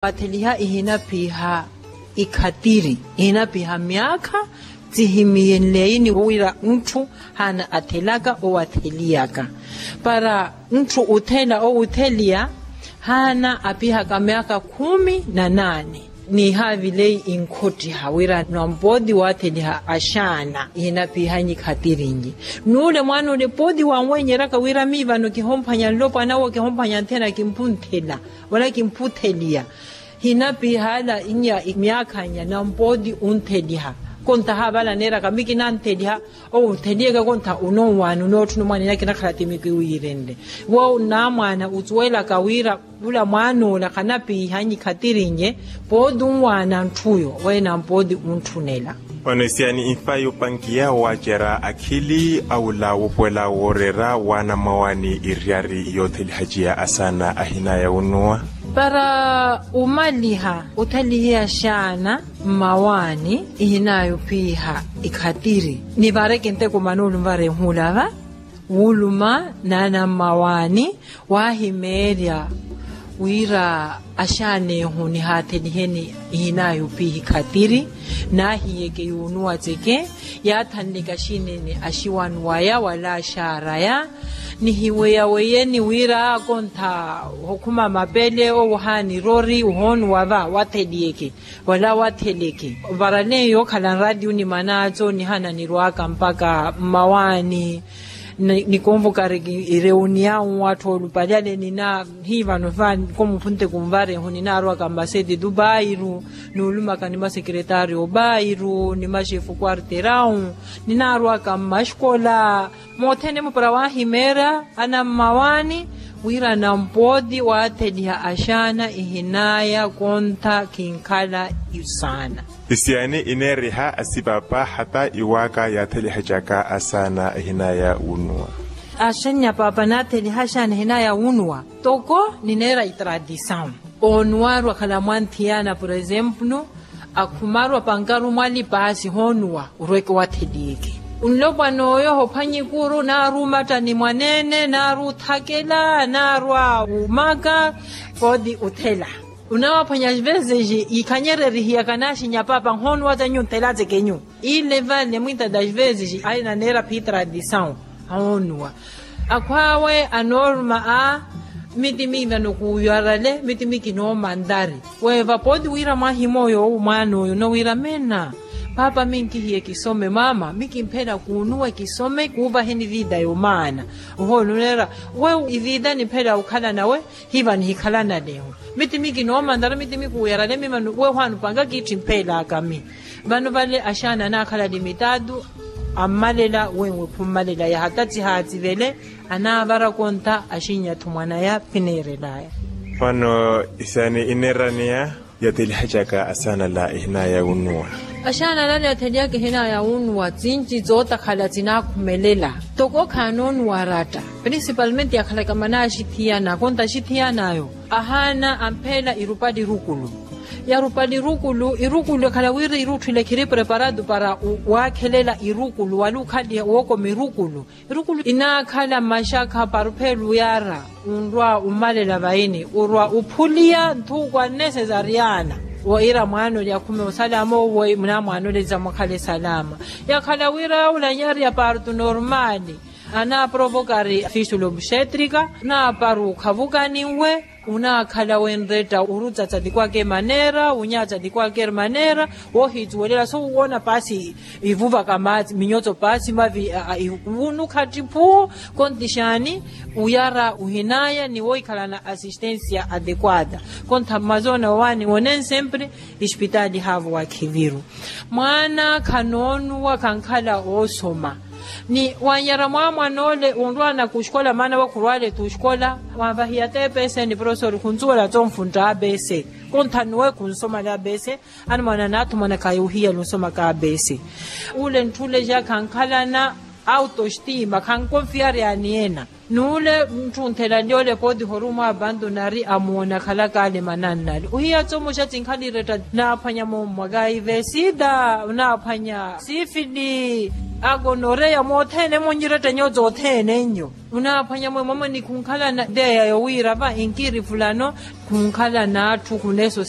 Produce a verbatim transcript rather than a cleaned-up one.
atheliha ihinaphiha ikhatiri, ihinaphiha myaakha tsihimiyenleyini wira ntthu haana athelaka owo atheliyaka. Para ntthu uthela owo utheliya haana apihaka myaakha khumi na naane. Nihaavileyi inkhottiha wira nampooti waatheliha axaana ihinaphihanyi khattirinyi. Nuule mwaana ole pooti wanwenyeraka wira mii vano kihomphwanya nlopwana owo kihomphwanya nthena kimphunthela wala kimphutheliya. Hinapihala inya myaakha nya nampooti untheliha. Kontaha vala neeraka miki nantheliha. Owo utheliyeke kontha unonwaani unootthuna omwaana inya kinakhala ti miki wiirenle. Wo namwaana usuwelaka wira ula mwaan'ola khanapiihanyi khattirinye. Pooti unwaana ntthuyo wena mpooti untthunela. Ono isiani infa yopankiya waacerya akhili aula wopwela wooreera waana mmawaani iriyari yoothelihaciya asaana ahinaya unuwa. Para umaliha uthelihiya xaana mmawaani ihinaya opiiha ikhatiri nivareke nteko manoolu nvarehuulava. Wuuluma naana mmawaani waahimeerya wira axaanehu nihaathelihe ni ihinaya opiiha ikhatiri. Naahiyeke yuunuwa tseke yaathanleka xinene axiwani waya wala axaaraya. Nihiweyaweyeni wira kontha okhuma mapele owo haanirori uhoonuwa va watheliyeke wala watheleke. Varaleyo yookhala nraatiyo ni manaaco nihana nirwaka mpaka mmawaani. Nikonvokareke ireuniyawu atthu oolupalyale nina hivano fa komuphunte kunvarehu ninaarwaka mmaseti tu bairu. Nuulumaka ni masekeretaryo bairu ni maxefu kwarterawu ninaarwaka mmaxkola. Mothene mupara waahimeerya anammawaani wira nampooti waatheliha axaana ihinaya kontha kinkhala isaana. Isiani ineeriha asipapa hata iwaaka yaathelihacaka asaana ihinaya wunuwa. Axennya papa naatheliha asaana ihinaya wunuwa toko nineera itradisawu. Onuwarwa akhala mwanthiyana por exemplo akhumarwa pankaru mwalipaasi hoonuwa orweke watheliyeke. Nlopwana oyo ohophwanya ikuru naari umatta ni mwaneene naari uthakela naari awumaka. Pooti uthela unawaphwanya as vezes ikhanyererihiyaka naaxinya papa nhoonuwa tsenyu nthela tsekenyu. Ile vale muita das vezes ainaneera phitradisawu. Hoonuwa akhwaawe anooruma a mitimi vano kuuyarale mitimi kinoomantari. Weeva pooti wira mwahimooyo owu mwaan'oyo onowira meena paapa minkihiye kisome maama mikimphela kuunuwe kisome kuuvaheni viida yomaana. Ohooluneera we iviida niphelaya okhala nawe hiva nihikhala naleho. Mitimi kinoomantara mitimi kuuyarale mimano we ohwaana opanga kiitti mphelaka mi. Vano vale axaana anaakhala limitaatu ammalela wenwe khummalela yaha tatsihatsivele anaavara kontha axinnya-tho mwanaya phineerelaya. Vano isaani ineeraneya yathelihacaka asaana ala ihinaya wunuwa. Axaana ala yatheliyaka ihinaya wunuwa tsinci tsootakhala tsinakhumelela toko khaanoonuwa aratta. Principalmente yakhalaka manaaxithiyana kontha axithiyanayo ahaana ampheela irupali irukulu. Yarupali irukulu irukulu ekhala wira irutthu ile khiri preparado para waakhelela irukulu wala okhaliha wookoma irukulu. Irukulu inaakhala maxakha paruphelu yaara onrwa omalela vaini orwa ophuliya nthuukwa nne sesariana. Woira mwaana ole akhume osalama owo munamwaana ole zamwakhale salama. Yakhala wira yawula nyari ya parto normali anaprovokari fistula obxetrika naparu khavukaniwe. Unaakhala wenretta orutsatsa tikwake maneera wunyaatsa tikwake maneera. Woohitsuwelela sowuwoona paasi ivuvaka maatsi minyotso paasi mavi wunukha ttiphuu. Konti xaani uyara uhinaya ni wohikhalana assistensia adequada. Konti mmazoona wawaani wonen sempre espitaali haavo wakhiviru. Mwaana khanoonuwa khankhala oosoma ni wanyara mwaamwan'ole onrwaana kuxkola maana we khurwaale t'uxkola. Wanvahiya t'epese ni profesori khunsuwela tsonfuntta abese. Kontha nuwe khunsomale abese. Anamwaana anaathumwanaka yuuhiya lunsomaka abese. Ule ntthuleja khankhalana autostima khankonfiyaryani ena. Nuule ntthunthela nlyoole pooti horumo abantonari amoona akhalaka ale manannale ohiya tsomoxa tsinkhala iretta naaphwanya mommwaka ivesida naaphwanya sifili akonoreya mothene monyirettenyo tsothene nnyo. Munaaphwanya mwe mwamwe ni khunkhalana ideya yowiira va inkiri fulano khunkhalana atthu khuneso.